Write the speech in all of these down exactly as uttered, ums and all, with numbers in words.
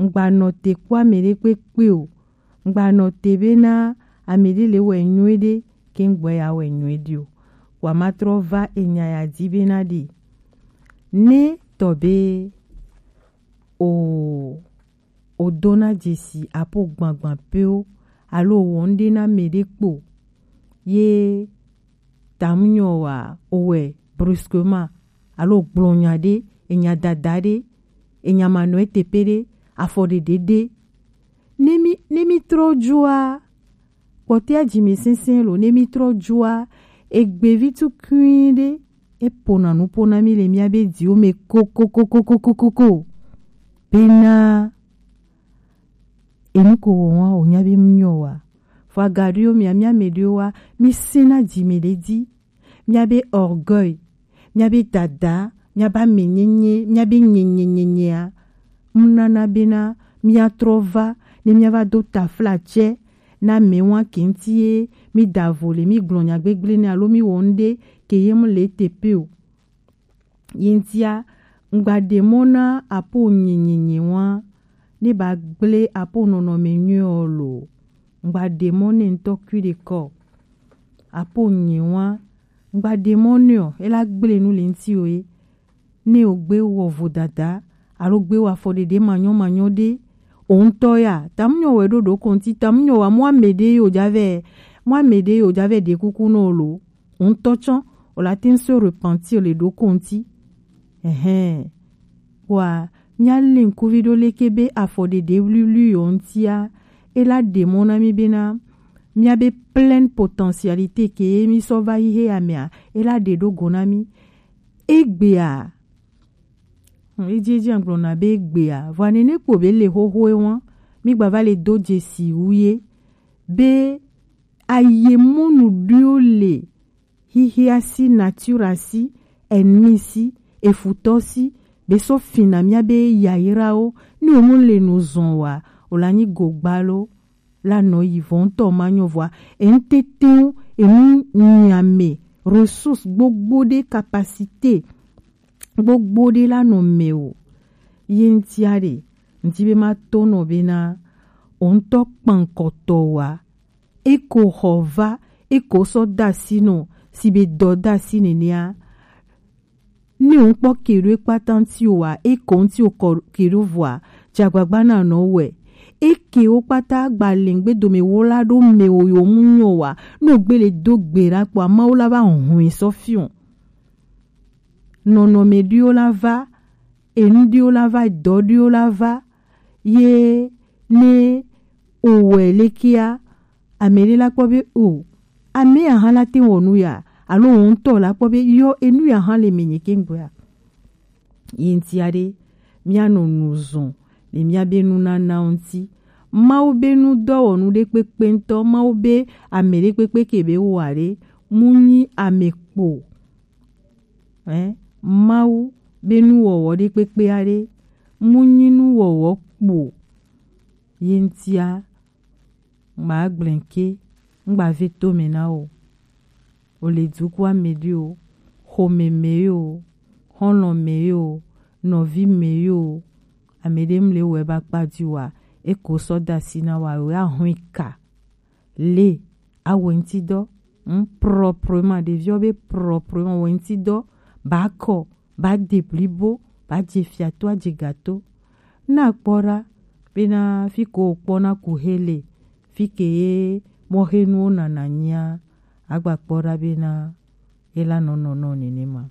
ŋgba nɔ te kpɔ amɛɖe kpekpe o. Ŋgba nɔ te bena amɛɖe le wɛ nyuiɖe, ke ŋgbɔ ya wɛ nyuiɖe o. Wa ma trɔ va enya ya di bena ɖe ne tɔ be o o dona dzesi apo gbangban pewo alo o wɔ ŋɖe na mɛɖe kpo ye tamunyɔ wa o wɛ brusquement alo gblɔ nya ɖe, enya dada ɖe, enya manɔ etepe ɖe, afɔ ɖeɖe ɖe. Ne mi ne mi trɔ joa kpɔtɛa jimesese lo ne mi trɔ joa egbevi tukui ɖe e pona nu pona mi le mia be diwo me kokokokokokoko bena enu ko wɔ wa o nya be mu nyɔ wa. Fo agaɖiwo mia mia mɛɖewo wa mi sena jime ɖe di. Miabe orgueil, miabe dada, miabe amenyenye, miabe nyenyenyenyea, ŋnana bena miatrɔ va ne miava do taflatse na mɛwa ke ŋuti ye mi da vo le mi gblɔ nya gbegble ne alo mi wɔ ŋɖe ke ye mu le tepe o. Ye ŋutia, ŋgba ɖe mɔ na apo nyenyenye wa ne ba gble apo nɔnɔme nyuie ɔ lo. Ŋgba ɖe mɔ ne ŋutɔ kui ɖe kɔ. Apo nye wa ŋgba ɖe mɔ ne ɔ ela gble nu le ŋuti o ye. Ne o gbe wɔ vodada alo gbe wɔ afɔ ɖeɖe manyɔ manyɔ ɖe o ŋutɔ ya tamunyɔ wɛ ɖo ɖo kɔnti tamunyɔ wa mɔ ame ɖe yo javɛ mɔ ame ɖe yo javɛ ɖe kuku nɔ lo o ŋutɔ tsɔ o la te ŋ se repentir le ɖo kɔnti. Ɛhɛn. Kpoa mia le ŋkuvi ɖo leke be afɔ ɖeɖe wluiwlui yo ŋutia ela ɖe mɔ na mi bena miabe pleine potentialité ke ye mi sɔ va yi he amea ela ɖe ɖo go na mi. Egbea hm, edzi edzi agblɔ na be egbea vɔa nene kpo be le xoxoe wa mi gba va le do dzesi wu ye be aye mɔnu ɖoe le xixia si, nature si, ennemi si, efutɔ si, be sɔ fina mia be yayrawo ni wo mu le nu zɔn wa o la nyi gogba lo la nɔ yi vɔ ŋutɔ ma nyɔ vɔa enu tetewo enu nyame ressource gbogbo ɖe capacité gbogbo ɖe la nɔ mɛ o ye ŋutia ɖe ŋuti be ma to nɔ bena o ŋutɔ kpankɔtɔ wa eko xɔ va eko sɔ da asi nɔ si be dɔ da asi nenea ne o ŋkpɔ ke ɖo ekpata ŋuti o wa eko ŋuti o kɔ ke ɖo vɔa dzagbagba na nɔ wɛ eke wo kpata gba le ŋgbe dome wo la ɖo mɛ o yo mu nyɔ wa ne o gbe le do gbe ɖa kpɔa mawu la va hɔn sɔ fiɔ nɔnɔme ɖiwo la va enu ɖiwo la va dɔ ɖiwo la va ye ne o wɛ lekea ame ɖe la kpɔ be o ame ya hã la te wɔ nu ya alo o ŋutɔ la kpɔ be yɔ enu ya hã le menye ke ŋgbɔa yi ŋutia ɖe mia nɔ nu zɔn le mia be nunana ŋuti mawu be nu dɔwɔnu ɖe kpekpe ŋutɔ mawu be ame ɖe kpekpe ke be wa ɖe mu nyi ame kpo Ɛ, Mawu be nuwɔwɔ ɖe kpekpe aɖe mu nyi nuwɔwɔ kpo ye ŋutia ŋgba gblẽ ke ŋgba ve to me na o. O le dukua me ɖi o, xome me yo, xɔlɔ̃ me yo, nɔvi me yo, ame ɖe mle wɛ ba kpa di wa, eko sɔ da asi na wa, o ya hɔn ka. Le awɛ ŋuti dɔ, ŋ proprement, ɖeviwo be proprement wɛ ŋuti dɔ, ba kɔ, ba de blibo, ba dze fiato, adze gato. Na kpɔ ɖa bena fi ko kpɔ na ku he le, fi ke ye mɔhenuwo nana nyia, agba kpɔ ɖa bena ela nɔnɔ nɔ nenema.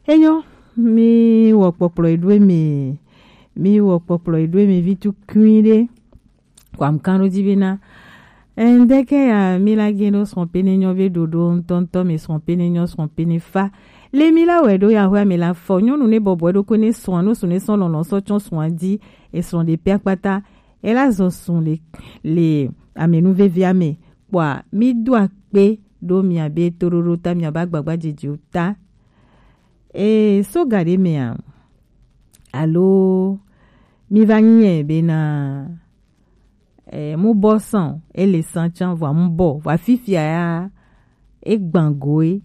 Enyo, mi wɔ kpɔkplɔ eɖo eme, mi wɔ kpɔkplɔ eɖo eme vi tu kui ɖe. Kwam kan ɖo dzi bena, eh, ŋdeke ya mi la gen ɖo srɔ̃ pene nyɔ be ɖoɖo ŋutɔŋutɔ me srɔ̃ pene nyɔ srɔ̃ pene fa. Le mi la wɛ ɖo ya hwe ame la fɔ nyɔnu ne bɔbɔ ɖo ko ne srɔ̃ no su ne sɔ lɔlɔ sɔ tsɔ srɔ̃ di esrɔ̃ ɖe pe akpata. Ela zɔ sun le le ame nu vevi ame. Kpɔa mi do akpe ɖo mia be toɖoɖo ta mia ba gbagba dzidziwo ta. E so ga ɖe mea alo mi va nyiɛ bena e mu bɔ san o, ele san can vɔa mu bɔ vɔa fifia ya e gban go e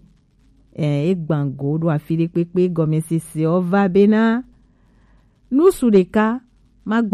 e gban go ɖo afi ɖe kpekpe gɔmesese ɔ va bena nusu ɖeka ma